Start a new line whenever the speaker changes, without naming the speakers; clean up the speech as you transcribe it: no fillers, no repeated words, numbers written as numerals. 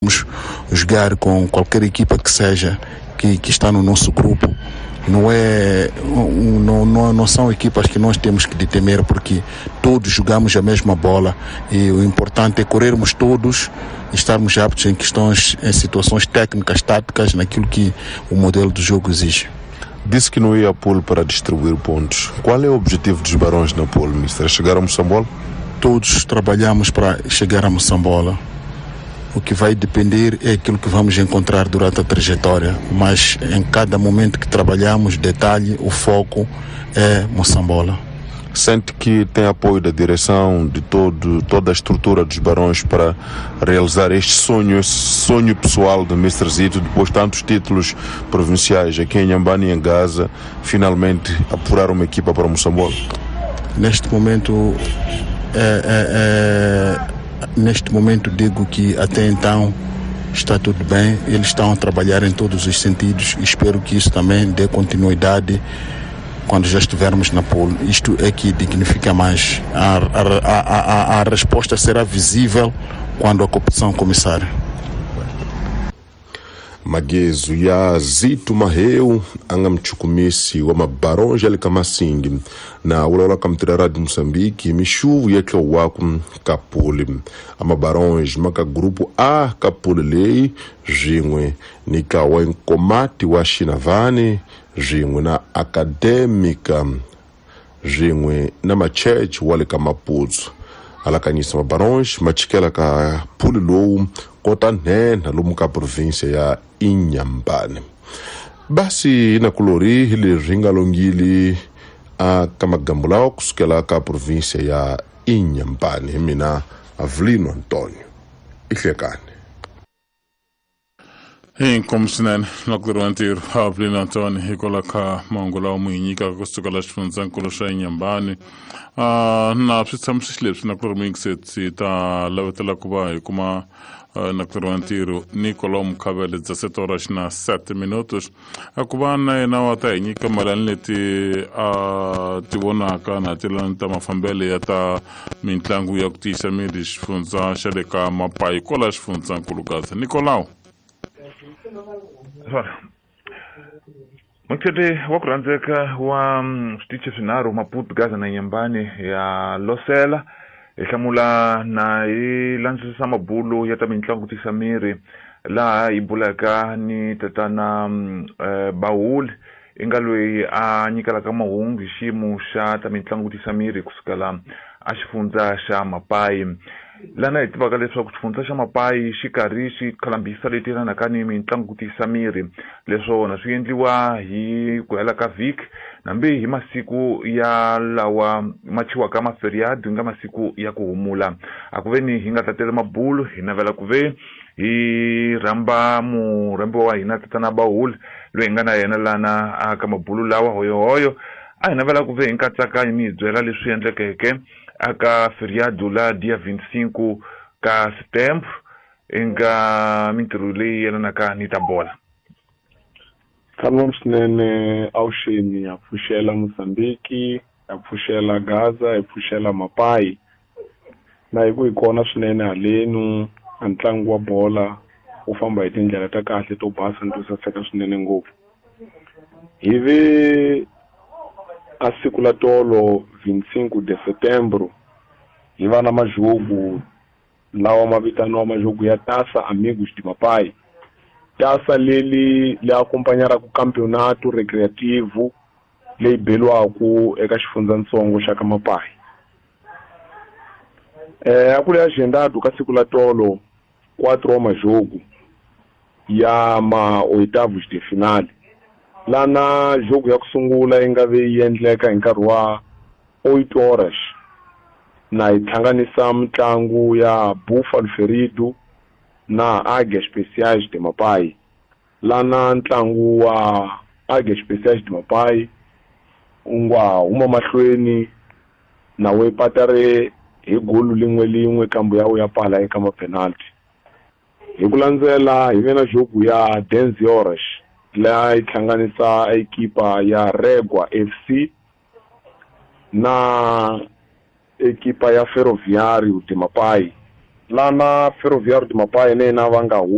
podemos jogar com qualquer equipa que seja que está no nosso grupo. Não é, não, não, não são equipas que nós temos que temer, porque todos jogamos a mesma bola e o importante é corrermos todos e estarmos aptos em questões, em situações técnicas, táticas, naquilo que o modelo do jogo exige.
Disse que não ia a pool para distribuir pontos. Qual é o objetivo dos Barões na pool, mister? Chegar a Moçambola?
Todos trabalhamos para chegar a Moçambola. O que vai depender é aquilo que vamos encontrar durante a trajetória, mas em cada momento que trabalhamos, detalhe, o foco é Moçambola.
Sente que tem apoio da direção, de toda a estrutura dos Barões para realizar este sonho, esse sonho pessoal do Mr. Zito, depois de tantos títulos provinciais aqui em Inhambane e em Gaza, finalmente apurar uma equipa para Moçambola?
Neste momento, neste momento digo que até então está tudo bem, eles estão a trabalhar em todos os sentidos e espero que isso também dê continuidade quando já estivermos na pool. Isto é que dignifica mais. A resposta será visível quando a competição começar.
Magezo ya Zito Maheu a nga muchukumisi wa mabaronge ya le ka Masingi na vulavula ka mutirhi Radio Moçambique hi mixuvu ya tlowaku ka puli. A mabaronge ma ka grupu A ka puli leyi swin'we ni ka wa Nkomati wa Xinavani swin'we na Academica swin'we na Machurch wa le ka Maputsu. Alakanyisa mabaronge ma chikela ka puli lowu kota nhenha lomu ka provinsia ya Inhambane. Basi na kulori hi leswi nga longili a ka magambo lawa kusukela ka provinsia ya Inhambane. Hi mina Avelino Antonio ihlekani.
Inkomu swinene na ku tirha ntirho Avelino Antonio hikwalaho ka mahungu lawa mu hi nyikaka kusuka la xifundzankulu xa Inhambane. Na swi tshamisi leswi na ku ri muyingiseti ta lavetela ku va hi kuma na ku tirha ntirho Nicolau Mukhavele 17 horas na 7 minutos a ku va na yena wa ta hi nyika malani leti a ti vonaka na tilani ta mafambelo ya ta mitlangu ya ku tiyisa miri xifundza xa le ka Mapayi kwala xifundzankulu Gaza. Nicolau.
Mutete wa ku rhandzeka wa switichi swinharhu Maputo, Gaza na Inhambane ya Losela hi hlamula na hi landzisisa mabulo ya ta mitlangu tisa miri laha hi bulaka ni tatana Bahuli i nga loyi a nyikelaka mahungu hi xiyimo xa ta mitlangu tisa miri kusukela a xifundza xa Mapayi. Lana hi tivaka leswaku xifundza xa Mapayi xi karhi xi khalambisa leti yelanaka ni mitlangu tisa miri, leswona swi endliwa hi ku hela ka vhiki nambi hi masiku ya lawa ma chiwaka maferiado nga masiku ya ku humula. A ku ve ni hi nga tatela mabulu hi navela ku ve hi rhamba murhambiwa wa hina tatana Bahuli loyi hi nga na yena lana a ka mabulu lawa hoyohoyo. A hi navela ku ve hi nkatsakanyo mi hi byela leswi endlekeke aka feriado la dia 25 ka setembro nga mintirho leyi yelanaka ni ta bola.
Salom swinene awuxeni ya pfuxela Mozambique, ya pfuxela Gaza, ya pfuxela Mapayi. Na hi ku hi kona swinene halenu a ntlangu wa bola wu famba hi tindlela ta kahle to basa ni to saseka swinene ngopfu. Hi ve a siku la tolo 25 de setembro hi va na majogo lawa ma vitaniwa majogo ya Taça Amigos de Mapai. Taça leli le acompanharaka campeonato recreativo leyi beliwaku eka xifundzatsongo xa ka Mapai. A ku ri agendado ka siku la tolo 4 wa majogo ya ma oitavos de finale. Lana jogo ya ku sungula yi nga ve yi endleka hi nkarhi wa 8 horas na yi hlanganisa mitlangu ya Buffalo Ferido na Águias Especiais de Mapai. Lana ntlangu wa Águias Especiais de Mapai wu nga huma mahlweni na wu patare hi golu lin'we lin'we kambe ya wu ya pala eka ma-penalty. Hi ku landzela hi ve na jogo ya 10 horas laha yi hlanganisa ekipa ya Regua FC na ekipa ya Ferroviário de Mapai. Lana Ferroviário de Mapai na yena va nga